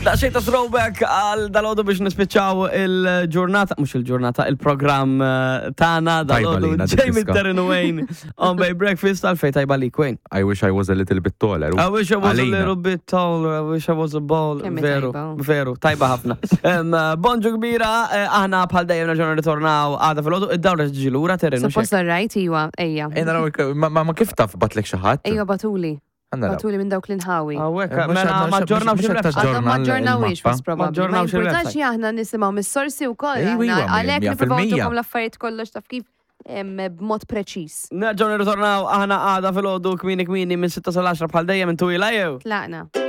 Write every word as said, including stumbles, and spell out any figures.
Daqsxejn ta' throwback għal dalgħodu biex nispiċċaw il-ġurnata, mhux il-ġurnata, il-programm eh, tagħna Tajba dalgħodu. lina dik Jamie, diska. Terry u Wayne on Bay Breakfast. Għalfejn tajba li, Wayne? I wish I was a little bit taller. I wish I was a Għalina. little bit taller, I wish I was a ball. Kemm hi Veru, tajba. Veru, tajba ħafna. Em, eh, Bonġu kbira, eh, aħna bħal dejjem nerġgħu nirritornaw għada filgħodu, id-dawra ġi lura, Terry, mhux Suppost right, iwa, ejja. Ej, naraw, ma ma- ma kif taf, batlek xi ħadd? Ejja, bagħtuli. Naraw. Bagħtuli minn dawk l-inħawi. Hawnhekk, Eh, mhux mela għadna- ma ġġornawx mhux qed il-website. taġġorna Għadhom ma ġġornawix, il-mappa. was Ma probably. Ma ġġornawx importax, il-website. aħna nisimgħu mis-sorsi wkoll. Ejwa, aħna iwa, għalhekk mija nippruvaw fil-mija. ntukom l-affarijiet kollox, taf kif, em, b'mod preċiż. Nerġgħu nirritornaw aħna għada filgħodu kmieni kmieni minn sitta sal-għaxra bħal dejjem intu jew. Tlaqna.